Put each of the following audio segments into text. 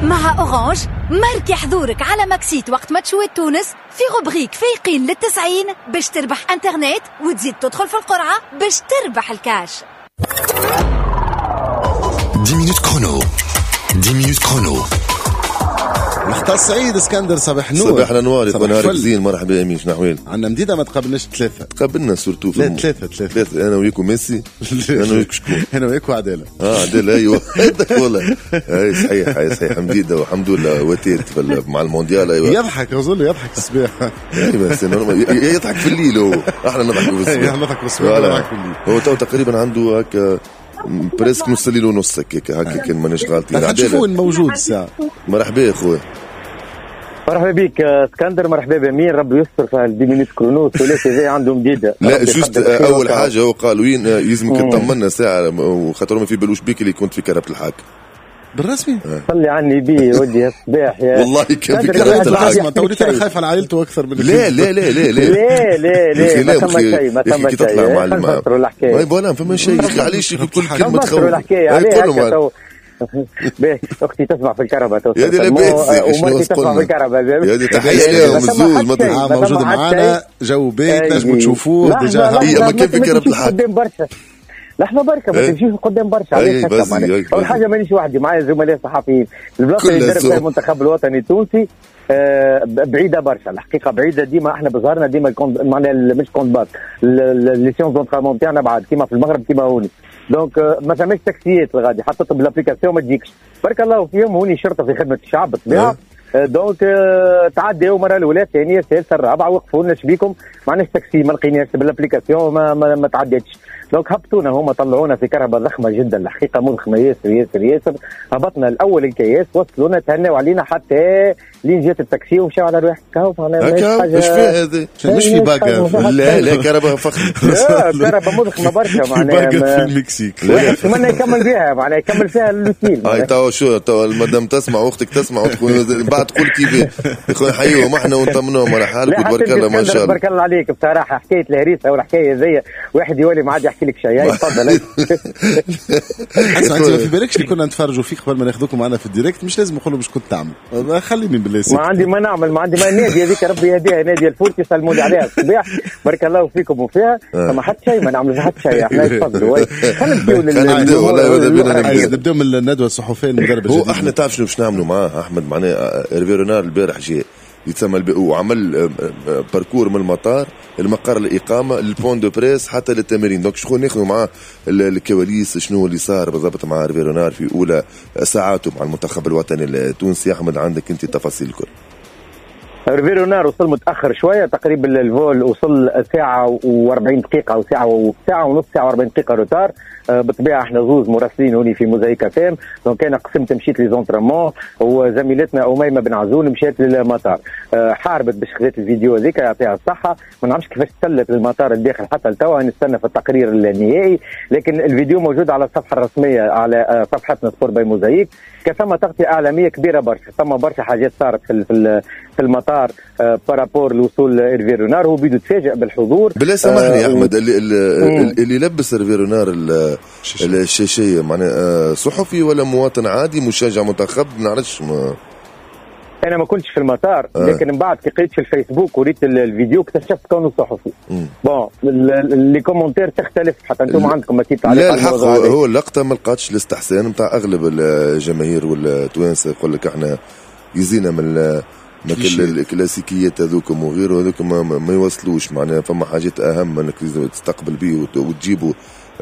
مع Orange ماركي حضورك على Maxit وقت ماتشوات تونس في rubrique فايقين للتسعين باش تربح انترنت وتزيد تدخل في القرعة باش تربح الكاش. 10 minutes chrono، 10 minutes chrono. مختار سعيد اسكندر، صباح النور. صباح الانوار، صباح نهارك الفل. زين. مرحبا امين، شنو احوالك؟ عندنا مديدة ما تقابلناش ثلاثة. تقابلنا surtout. لا، ثلاثة ثلاثة. ثلاثة، انا وياك وميسي، انا وياك شكون؟ انا وياك وعدالة. اه عدل، ايوه والله اي صحيح، اي صحيح، مديدة والحمد لله وتيت مع المونديال، ايوه. يضحك رزول، يضحك الصباح. ايوه c'est normal، يضحك في الليل هو، احنا نضحك في الصباح. احنا نضحك في الصباح، voilà. نضحك في الليل. هو تو تقريبا عنده هكا presque نص الليل ونص هكاك هكا كان مانيش غالطين. نشوفوا عدالة. وين موجود الساعة. مرحبا يا خويا. مرحبا بك اسكندر، مرحبا بامين، ربي يستر في 10 minutes chrono الثلاثي ذي عندهم مديده. لا ربي juste يقدر خير اول وكرم. حاجة هو قال وين يلزمك تطمنا ساعه، وخاطر ما في بالوش بيك اللي كنت في كرهبة الحاكم. بالرسمي؟ صلي على النبي ودي الصباح يا والله كان في اسكندر، كرهبة الواحد الحاكم. اسمع، تو وليت انا شيء. خايف على عائلته اكثر من لا لا لا لا لا. لا لا لا، ما لا ثم شيء، ما ثم كي تطلع شيء. مع خلينا نفسروا الحكايه. ما voilà، فما شيء يا اخي، علاش كل كلمة تخوف؟ نفسروا الحكايه. أي عليه قولوا هكا معنا. تو باهي، اختي تسمع في الكرهبة تو. يا دي لاباس يا أخي، شنو ومرتي تسمع قلنا؟ في الكرهبة. يا دي تحية لهم ما ثم الزوز، حد ما شيء، آه ما موجود ثم حد معنا شيء. جو باهي أي. تنجموا تشوفوه لحظة، déjà. لحظة، إيه، أما ما كيف في كرهبة تمشيش الحاكم؟ قدام برشا، لحظة بركة، ما إيه. تمشيش قدام برشا. إيه، علاش هكا بس، معناها؟ إيه، أول بس. حاجة مانيش وحدي، معايا زملاء صحفيين. البلاصة اللي كلها درب فيها زوم. المنتخب الوطني التونسي بعيدة برشا، الحقيقة بعيدة. ديما احنا بظهرنا ديما ال camp، معناها مش camp de base، les séances d'entraînement تاعنا بعد كيما في المغرب كيما هوني، donc ما ثماش تاكسيات الغادي، حتى تطلب l'application ما تجيكش. بارك الله فيهم، هوني شرطة في خدمة الشعب بالطبيعة. donc تعداو مرة الاولى، الثانيه، الثالثه، الرابعه، وقفوا لنا شبيكم، ما عندناش تاكسي، ما لقيناش بال application، ما تعدتش. donc هبطونا هما، طلعونا في كرهبة ضخمة جدا، الحقيقة مضخمه ياسر ياسر ياسر. هبطنا الاول الكياس، وصلونا، تهناو علينا حتى لين جات التاكسي ومشاو على رواحهم. كهو معناها ماهيش هكا حاجة. ايش فيها هذا؟ مش في باقة. لا لا، كرهبة فخم. لا، كرهبة مضخمه برشا في معناها باقة في المكسيك. واحد يتمنى يكمل بها، معناها يكمل فيها l'hôtel. هاي تو شو تو المدام تسمع واختك تسمع وتقول بعد تقول كيف يا خويا، نحيوهم احنا ونطمنوهم على حالك لا حتى وتبارك الله ما اسكندر، شاء الله. تبارك الله عليك. بصراحة حكاية الهريسه والحكاية زي واحد يولي ما عاد يحكي لك شيء. هاي تفضل. اسمع، انت ما في بالكش اللي كنا نتفرجوا فيك قبل ما ناخذوكم معنا في ال direct؟ مش لازم نقولوا باش كنت تعمل، خليني بالله ما سكت. عندي ما نعمل، ما عندي ما. نادي هذيك ربي يهديها، نادي الفورتي، سلموا لي عليها الصباح، بارك الله فيكم وفيها. ما حتى شيء، ما نعمل حتى شيء احنا. تفضلوا، خلينا نمشيو خلينا نبداو، والله ماذا بينا للأخرى. نبداو. نبداو من الندوة الصحفية المدرب هو الجديد. احنا تعرف شنو باش نعملوا معاه احمد؟ معناه ايرفي رونار البارح جاء يتسمى وعمل parcours من المطار المقر الاقامة لل point de presse حتى للتمارين، donc شكون ناخذوا معاه الكواليس، شنو اللي صار بالضبط مع ايرفي رونار في اولى ساعاته مع المنتخب الوطني التونسي. احمد، عندك انت التفاصيل الكل. ايرفي رونار وصل متاخر شويه، تقريبا ال vol وصل ساعة و40 دقيقة او ساعة وساعة ونص، ساعة و40 دقيقة retard. بالطبيعة احنا زوز مراسلين هوني في موزايك اف ام، donc انا قسمت مشيت les entraînements وزميلتنا اميمة بن عزون مشات للمطار. حاربت باش خذت الفيديو هذيك، يعطيها الصحه. ما نعرفش كيفاش تسلت للمطار الداخل، حتى لتوا نستنى في التقرير النهائي، لكن الفيديو موجود على الصفحة الرسميه، على صفحتنا Sport by موزايك. كثم تغطيه اعلامية كبيرة برشا، ثم برشا حاجات صارت في المطار par rapport لوصول ايرفي رونار. هو بيدو تفاجئ بالحضور. بالله سامحني يا احمد، مم. اللي لبس ايرفي رونار الشاشيه معناها صحفي ولا مواطن عادي مشجع منتخب؟ ما نعرفش ما. انا ما كنتش في المطار. لكن من بعد كي قريت في الفيسبوك وريت الفيديو اكتشفت كونه صحفي. bon les commentaires تختلف، حتى انتم عندكم اكيد تعليق لا على الحق الموضوع هذا. هو اللقطة ما لقاتش الاستحسان نتاع اغلب الجماهير والتوانسه، يقول لك احنا يزينا من ما كل الكلاسيكيات هذوكم وغيره هذوك ما يوصلوش، معناها فما حاجات اهم انك تستقبل به وتجيبه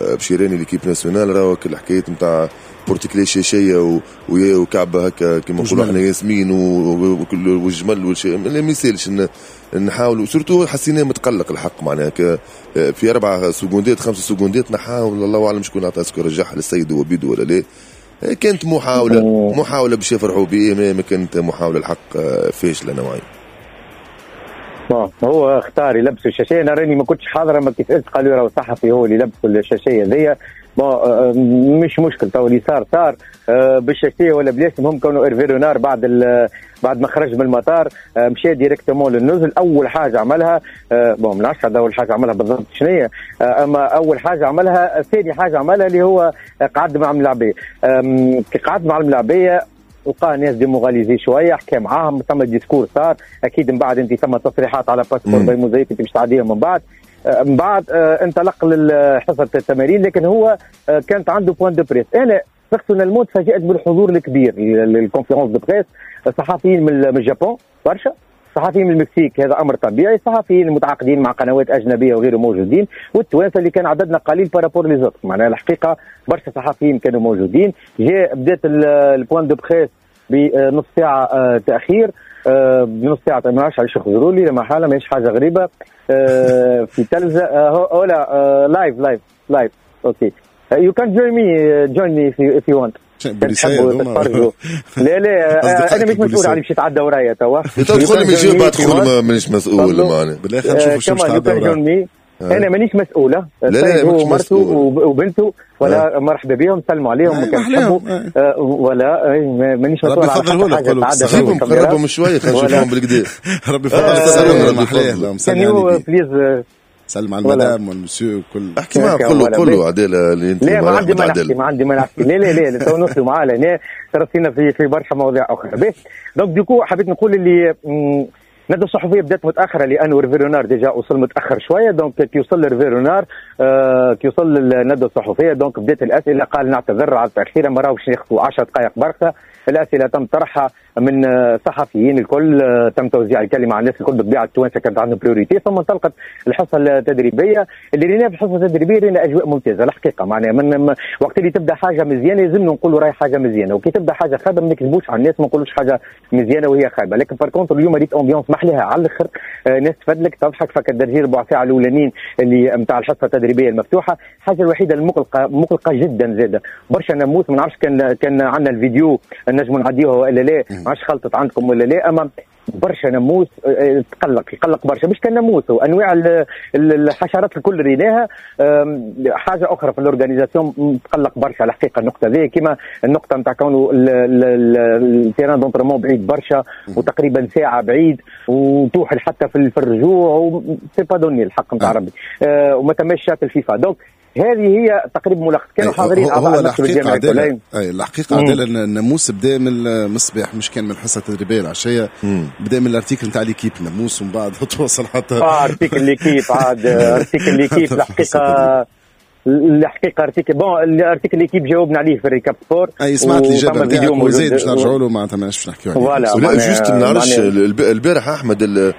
بشيراني l'équipe nationale. راهو كل الحكايات نتاع porte-clés شاشيه وكعبه هكا كيما نقولوا احنا ياسمين والجمل والشيء ما يسالش نحاولوا، surtout حسيناه متقلق الحق، معناها في 4 سكوندات 5 سكوندات نحاول، الله اعلم شكون عطى، est-ce que رجعها للسيد هو بيدو ولا لا. كانت محاولة باش يفرحوا به، ما كانت محاولة الحق فاشلة نوعا. bon هو اختار يلبسوا الشاشيه، انا راني ما كنتش حاضره، ما كي سالت قالوا راهو صحفي هو اللي لبسوا الشاشيه ذي. bon مش مشكل، تو اللي صار صار، بالشاشيه ولا بلاش، المهم كونه ايرفي رونار بعد ما خرج من المطار مشى directement للنزل. اول حاجة عملها bon ما نعرفش اول حاجة عملها بالضبط شنو هي، اما اول حاجة عملها، ثاني حاجة عملها اللي هو قعد مع الملاعبيه. كي قعد مع الملاعبيه لقى ناس démoralisés شوية، حكى معاهم، ثم discours صار اكيد. من بعد انت ثم تصريحات على باسبور باي موزايك انت باش تعديهم من بعد. من بعد انطلق لحصه التمارين، لكن هو كانت عنده point de presse. انا personnellement تفاجات بالحضور الكبير لل conférence de presse، صحفيين من اليابان برشا، صحفيين من المكسيك هذا امر طبيعي، صحفيين متعاقدين مع قنوات اجنبية وغيره موجودين، والتوانسه اللي كان عددنا قليل par rapport les autres. معناها الحقيقة برشا صحفيين كانوا موجودين. جاء بدات ال point de presse بنص ساعة تاخير، بنص ساعة ما نعرفش علاش يخزروا لي لما حاله ماهيش حاجة غريبة في تلفزه. ولا live live live okay you can join me join me if you want. لا لا انا مش مسؤول على باش يتعدى ورايا توا. تدخل من جيب بعد تدخل مانيش مسؤول معناها. بالله خلينا نشوفوا شو باش تعدى ورايا. انا مانيش مسؤولة. لا لا هو مرته وبنته ولا مرحبا بهم، سلموا عليهم كان تحبوا ولا مانيش مسؤول على حاجة. تعدى قربهم شوية خلينا نشوفهم بالكدا. ربي يفضل. سلم please سلم على المدام والمسيو وكل. احكي معاه قول له عدالة اللي انت. لا ما عندي ما نحكي، ما عندي ما نحكي. لا لا لا تو نوصلوا معاه لهنا ترسينا في برشا مواضيع اخرى. باهي donc du coup حبيت نقول اللي الندوة الصحفية بدات متاخرة لانه هيرفي رونار déjà وصل متاخر شوية. donc كي وصل هيرفي رونار كي وصل للندوه الصحفية donc بدات الاسئلة، قال نعتذر على التاخير ما راهوش ناخذوا 10 دقائق بركة. الاسئلة تم طرحها من صحفيين الكل، تم توزيع الكلمة على الناس الكل، بالطبيعة التوانسة كانت عندهم priorité. ثم انطلقت الحصة التدريبية اللي رينا في الحصة التدريبية رينا اجواء ممتازة الحقيقة. معناها من وقت اللي تبدا حاجة مزيانه لازم نقولوا راهي حاجة مزيانه، وكي تبدا حاجة خايبة ما نكذبوش على الناس، ما نقولوش حاجة مزيانه وهي خايبة. لكن par contre اليوم ريت ambiance محلها على الاخر، ناس تفدلك تضحك. فك الدرجين ربع ساعة الاولانيين اللي نتاع الحصة التدريبية المفتوحة. الحاجة الوحيدة المقلقه مقلقة جدا زاده برشا ناموس، ما نعرفش كان عندنا الفيديو نجموا نعديوه ولا لا، ما عادش خلطت عندكم ولا لا، اما برشا ناموس تقلق، يقلق برشا. مش كان ناموس، انواع الحشرات الكل ريناها. حاجة اخرى في ال organisation تقلق برشا الحقيقة النقطة ذي، كما النقطة نتاع كونه ال terrain d'entraînement بعيد برشا وتقريبا ساعة بعيد وتوحل حتى في الرجوع، c'est pas donné الحق نتاع ربي، وما تماش شات الفيفا. donc هذه هي تقريبا ملخص. كانوا حاضرين اعضاء المكتب الجامعي. اي الحقيقة عدالة الناموس بدا من الصباح، مش كان من الحصة التدريبية العشية، بدا من ال article نتاع L'Équipe ناموس ومن بعد توصل حتى article L'Équipe. عاد article L'Équipe الحقيقة الحقيقة article bon ال article L'Équipe جاوبنا عليه في ال récap sport. اي سمعت الاجابة نتاعك وزيد باش نرجعوا له معناتها ماناش باش نحكيو عليه. لا juste ما نعرفش البارح احمد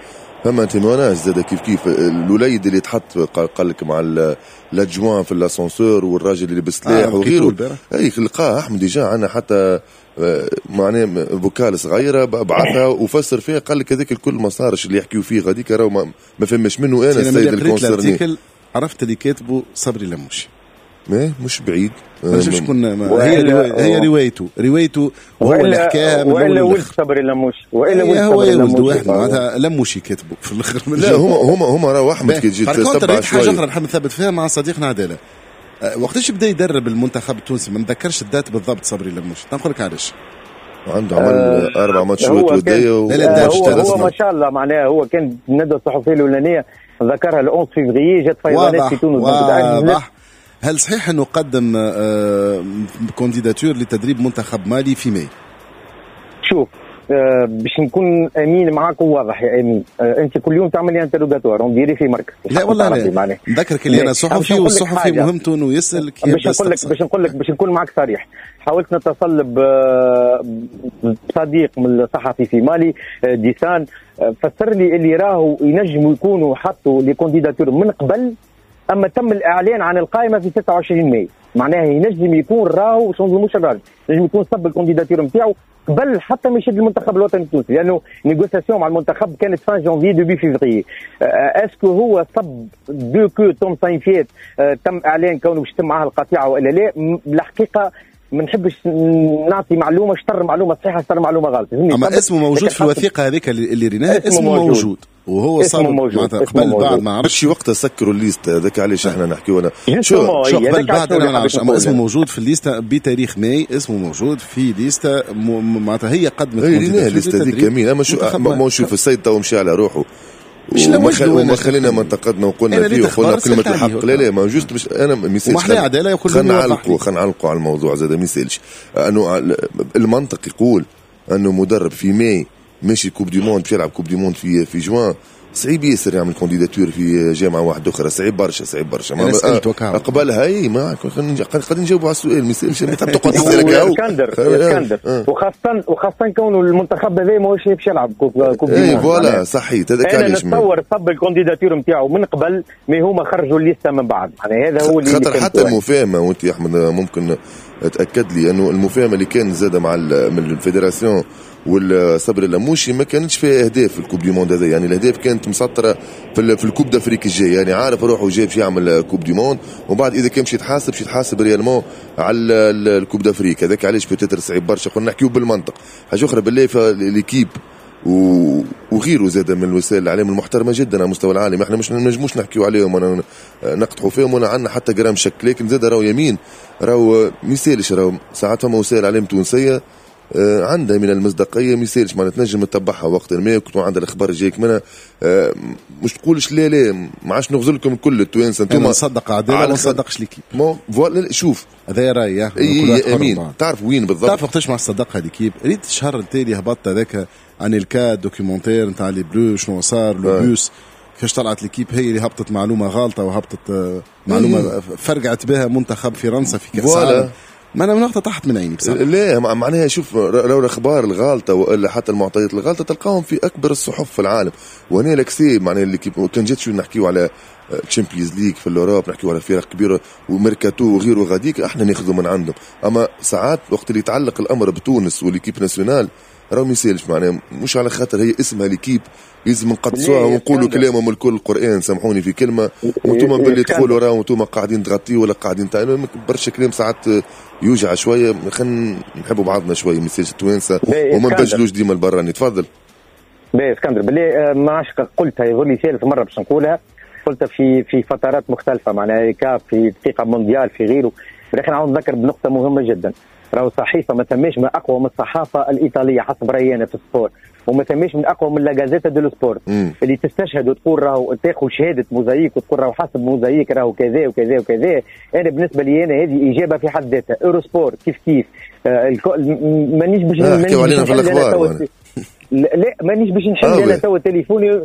فما témoignage زاد كيف كيف الوليد اللي تحط قال لك مع l'adjoint في l'ascenseur والراجل اللي بسلاح وغيره. اي لقاه احمد déjà عندنا حتى معناه vocal صغيرة بعثها وفسر فيها، قال لك هذاك الكل ما صارش اللي يحكيو فيه غاديك راهو ما فهمش منه. انا السيد ال concerné عرفت اللي كاتبه صبري لموشي مش بعيد، ما شكون هي روايته وهو اللي حكاها من والا ولد صبري لموشي، والا ولد صبري لموشي واحد معناتها لموشي كاتبه في الاخر. لا هما راهو احمد كي تجي تتبع شوية. حاجة اخرى نحب نثبت فيها مع صديقنا عدالة، وقتاش بدا يدرب المنتخب التونسي؟ ما نتذكرش ال date بالضبط صبري لموشي، نقول لك علاش. عنده عمل 4 ماتشات وديه هو ما شاء الله معناها هو كان الندوة الصحفية الاولانية ذكرها 11 فيفري جات فيضانات في تونس. واضح. هل صحيح أنه قدم candidature لتدريب منتخب مالي في ماي؟ شوف باش نكون امين معاك وواضح يا امين، انت كل يوم تعمل لي interrogatoire on dirait في مركز. لا والله لا نذكرك اللي انا صحفي، والصحفي مهمته انه يسال. باش نقول لك باش نكون معاك صريح، حاولت نتصل بصديق من الصحفي في مالي ديسان، فسر لي اللي راهو ينجموا يكونوا حطوا les candidatures من قبل، اما تم الاعلان عن القائمة في 26 ماي، معناها ينجم يكون راهو شو نظلموش الراجل، ينجم يكون صب ال candidature نتاعو قبل حتى ما يشد المنتخب الوطني التونسي، لانه négociation مع المنتخب كانت fin janvier début février. est-ce que هو صب dès que توم ساينفيت تم اعلان كونه باش تم معاه القطيعة والا لا؟ الحقيقة ما نحبش نعطي معلومة، شطر معلومة صحيحه شطر معلومة غلط. اما اسمه موجود في الوثيقة هذيك اللي ريناها، اسمه موجود وهو صار معناتها قبل بعد ما عرفش وقتها سكروا ال liste هذاك علاش احنا نحكيو. انا شو قبل بعد انا ما نعرفش، اما اسمه موجود في ال liste بتاريخ ماي، اسمه موجود في liste معناتها هي قدمت هي liste هذيك كمين. اما شو ما شوف السيد تو مشى على روحه وما خلينا ما انتقدنا وقلنا فيه وقلنا كلمة الحق. لا لا ما juste باش انا ما يسالش، خلينا نعلقوا على الموضوع زاد ما يسالش. انه المنطق يقول انه مدرب في ماي ماشي coupe du monde، باش يلعب coupe du monde في جوان، صعيب ياسر يعمل candidature في جامعه واحدة اخرى، صعيب برشا صعيب برشا. قبلها اي ما قاعدين نجاوبوا على السؤال، ما يسالش تحب تقعد تسالك. اسكندر اسكندر وخاصة كونه المنتخب هذا ماهوش باش يلعب coupe du monde. اي voilà صحيت، هذاك علاش انا نتصور صب ال candidature نتاعو من قبل، mais هما خرجوا ال liste من بعد. يعني هذا هو اللي خاطر حتى المفاهمه، وانت يا احمد ممكن تاكد لي انه المفاهمه اللي كان زاد مع من ال fédération والصبري اللموشي ما كانتش فيها اهداف في ال coupe du monde هذا، يعني الاهداف كانت مسطرة في ال coupe d'Afrique الجاي، يعني عارف روحه جاي باش يعمل coupe du monde، ومن بعد اذا كان باش يتحاسب باش يتحاسب réellement على ال coupe d'Afrique. هذاك علاش peut-être صعيب برشا، قلنا نحكيو بالمنطق. حاجة اخرى بالله l'équipe وغيره زاد من الوسائل الاعلام المحترمة جدا على مستوى العالم، احنا مش نجموش نحكيو عليهم ولا نقدحوا فيهم ولا عندنا حتى جرام شك، لكن زاد راهو يمين راهو ما يسالش، راهو ساعات فما وسائل اعلام تونسية عندها من المصداقية ما يسالش، معناتها تنجم تتبعها وقت ما كنت عندها الاخبار جايك منها، مش تقولش لا لا ما عادش نغزل لكم كل التوانسة انتم. نصدق عدالة ما نصدقش l'équipe. voilà شوف هذا رايي. اي امين تعرف وين بالضبط، تعرف وقتاش ما صدقها l'équipe؟ ريت الشهر التالي هبطت هذاك عن الكاد documentaire نتاع les Bleus شنو صار le bus كيفاش طلعت l'équipe، هي اللي هبطت معلومة غالطه وهبطت معلومة فرقعت بها منتخب فرنسا في كاس العالم. ما انا من وقتها طاحت من عيني بصراحة. لا معناها شوف لو الاخبار الغالطه والا حتى المعطيات الغالطه تلقاهم في اكبر الصحف في العالم. وهنا l'accès معناها اللي كان جات شو نحكيو على Champions League في l'Europe، نحكيو على فرق كبيرة وميركاتو وغيره غاديك احنا ناخذوا من عندهم. اما ساعات وقت اللي يتعلق الامر بتونس و l'équipe nationale راهو ما يسالش، معناها مش على خاطر هي اسمها l'équipe لازم نقدسوها ونقولوا كلامهم الكل القران، سامحوني في كلمة، وانتم باللي تقولوا راهو انتم قاعدين تغطيوا ولا قاعدين برشا كلام ساعات يوجع شوية. خلينا نحبوا بعضنا شوية ما يسالش التوانسة وما نبجلوش ديما البراني. تفضل. باهي اسكندر بالله ما عادش قلتها، يظل لي ثالث مرة باش نقولها، قلتها في فترات مختلفة معناها كاف في دقيقة مونديال في غيره، ولكن عاود نذكر بنقطة مهمة جدا. راهو صحيفة ما ثماش ما اقوى من الصحافة الايطالية حسب رايي انا في ال sport، وما ثماش من اقوى من La Gazzetta dello Sport اللي تستشهد وتقول راهو تاخذ شهادة موزايك وتقول راهو حسب موزايك راهو كذا وكذا وكذا. انا بالنسبة لي انا هذه اجابه في حد ذاتها. Eurosport كيف كيف مانيش باش نحكيو علينا في الاخبار. لا مانيش باش نحل انا توا تليفوني